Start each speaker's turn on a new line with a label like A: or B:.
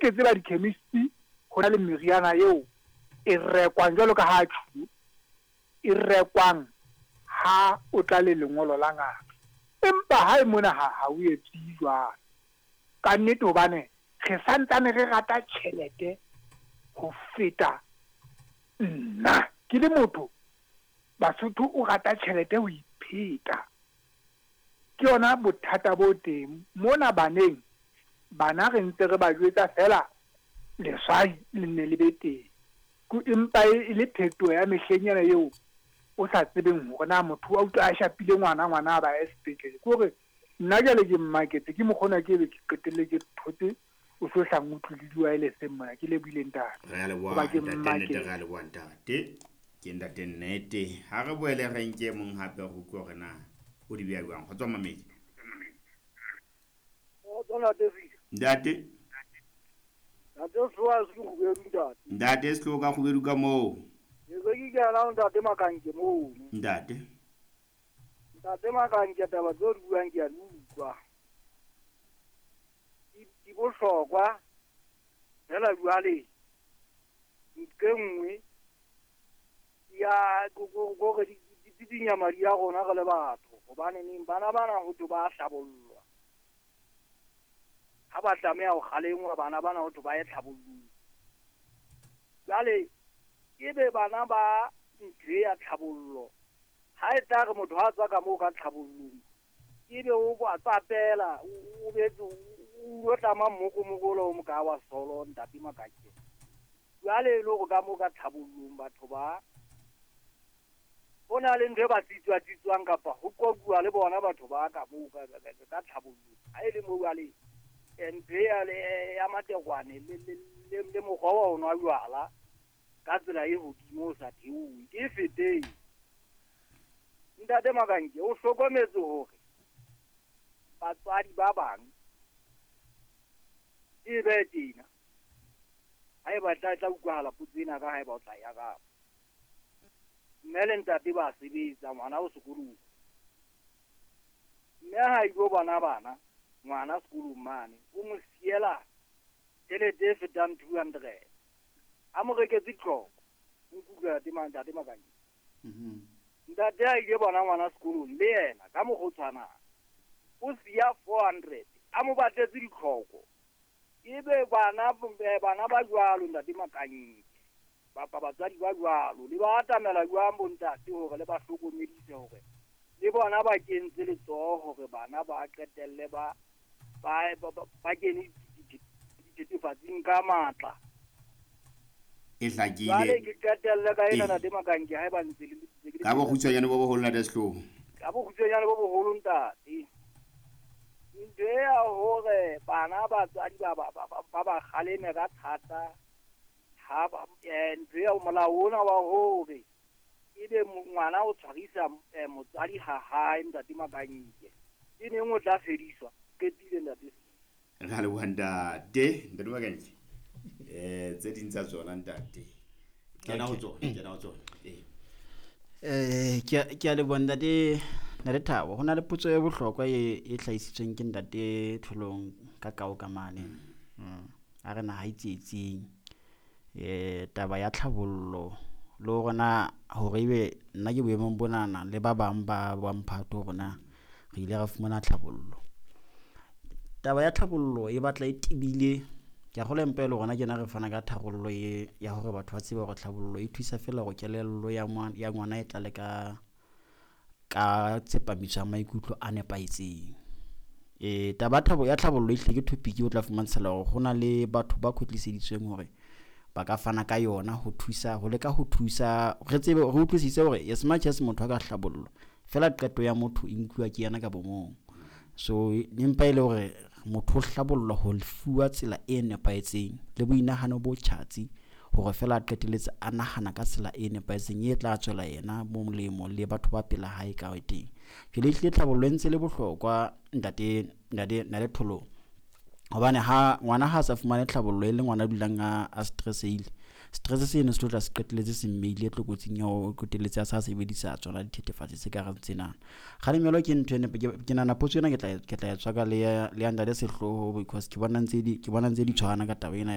A: ke tseba di-chemist ho na le meriana eo e rekwang jwalo ka ha tjhulo e rekwang ha o tla le lengolo la ngaka. Empa hae mona ha o etse jwalo. Ka nnete hobane re santsane re rata tjhelete ho feta nna. Ke le motho, Basotho o rata tjhelete ho ipheta. Ke yona bothata bo teng mona baneng. Bana re ntse re ba jwetsa feela leswai le nne le be teng. Empa e le phetoho ya mehleng ena eo o sa tsebeng hore na motho wa utlwa a shapile ngwana, ngwana a ba ye sepetlele. Ke hore nna jwale ke mmaketse ke mokgona ke be ke qetelle ke thotse o so hlang utlwe le di-wireless mona. Ke lebohile ntate.
B: Re a leboha.
A: Hoba ke
B: ntate Nnete.
A: Mmaketse.
B: Re a leboha ntate, ke ntate Nnete. Ha re boele re nke mong hape re utlwe hore na o di beha jwang. Kgotso mamedi. Ntate.
C: Ntate Sewa se Kgubedu, ntate.
B: Ntate Setloho ka Kgubedu ka moo.
C: Ke se ke kena ho ntate Makanke mono.
B: Ntate.
C: Ntate Makanke, taba tseo di buang ke a di utlwa. Di bohlokwa fela jwale ntho e nngwe ya gore di dinya madi a rona re le batho, hobane neng bana bana ho thwe ba hlabollwa, ha ba tlameha ho kgalengwa bana bana ho thwe ba ye tlhabollong. Jwale ebe bana ba ntho e ya tlhabollo, ha e tla re motho ha tswa ka moo ka tlhabollong ebe o ba tsapela, o betse o lo tlama mmokomokolo o moka wa solo. Ntate Makake, jwale e le hore ka moo ka tlhabollong batho ba ho na le ntho e ba tsitswa-tsitswang kapa ho qoquwa le bona batho ba ka moo ka tlhabollong. Ha e le moo jwale ntho e ya matekwane le mokgwa wa ho nwa jwala ka tsela e hodimo o sa theohe ke e feteng. Ntate Makanke, o hlokometse hore batswadi ba bang e be tjena ha eba tla utlwahala potso ena ka haeba o tla ya kapa mme le ntate ba sebetsa, ngwana o sekolong, mme ha ilo bona bana ngwana sekolong mane o mo siela tjhelete e fetang 200 a mo reketse ditlhoko. O nkutlwa, ntate Makanke? Ntate a ile bona ngwana sekolong le yena ka mokgwa o tshwanang o siya 400 a mo batletse ditlhoko. Ebe bana ba jwalo, ntate Makanke, bapa batswadi ba jwalo le ba atamela jwang bontate hore le ba hlokomedise hore le bona ba kentse letsoho hore bana ba qetelle ba kene dithethefatsing ka matla?
B: E hlakile.
C: Jwale ke qetelle ka ena, ntate Makanke, haeba ntse le
B: Ka bokgutshwanyane bo boholo, ntate Setloho.
C: Ka bokgutshwanyane bo boholo, ntate. Ntho e ya hore bana batswadi ba kgaleme ka thata ha ba ntho ya molao ona wa hore ebe ngwana o tshwarisa motswadi ha hae, ntate Makanke, ke neng o tla fediswa? Qetile, ntate.
B: Re a leboha ntate. Ntate Makanke, tse ding tsa tsona ntate, kena ho tsona, kena ho tsona ee.
D: Ke a leboha ntate, ntate Thabo. Ho na le potso e bohlokwa e hlahisitsweng ke ntate Tholong ka kao ka mane. A re naha e tsietsing. Taba ya tlhabollo le hore na hore ebe nna ke boemong bonana le ba bang ba mphato hore na re ile ra fumana tlhabollo. Taba ya tlhabollo e batla e tebile. Ke a kgolwa empa e le rona kena re fana ka tharollo e ya hore batho ba tsebe hore tlhabollo e thusa feela hore kelello ya ngwana e tlale ka tsepamiso ya maikutlo a nepahetseng. Taba thabo ya tlhabollo e hlile ke topic o tla fumantshela hore ho na le batho ba kwetliseditsweng hore ba ka fana ka yona ho thusa, ho leka ho thusa re tsebe re utlwisise hore as much as motho a ka hlabollwa fela, qeto ya motho e nkuwa ke yena ka bomong. So empa e le hore motho o hlabollwa ho fuwa tsela e nepahetseng le boinahano bo tjhatsi hore fela a qetelletse a nahana ka tsela e nepahetseng e tla tswela yena molemo le batho ba pela hae ka teng. Jwale ehlile tlhabollo e ntse le bohlokwa, ntate Tholong, hobane ha ngwana ha sa fumane tlhabollo e le ngwana a dulang a stressehile, stress seno se tlo tla se qetelletse se mmeile tlokotsing ya ho qetelletse a sa sebedisa tsona dithethefatsi tse kareng tsena. Kgalemelo ke ntho e ke nahana potso ena ke tla e tswaka le ya ntate Sehloho because ke bona ntse di tshwana ka taba ena.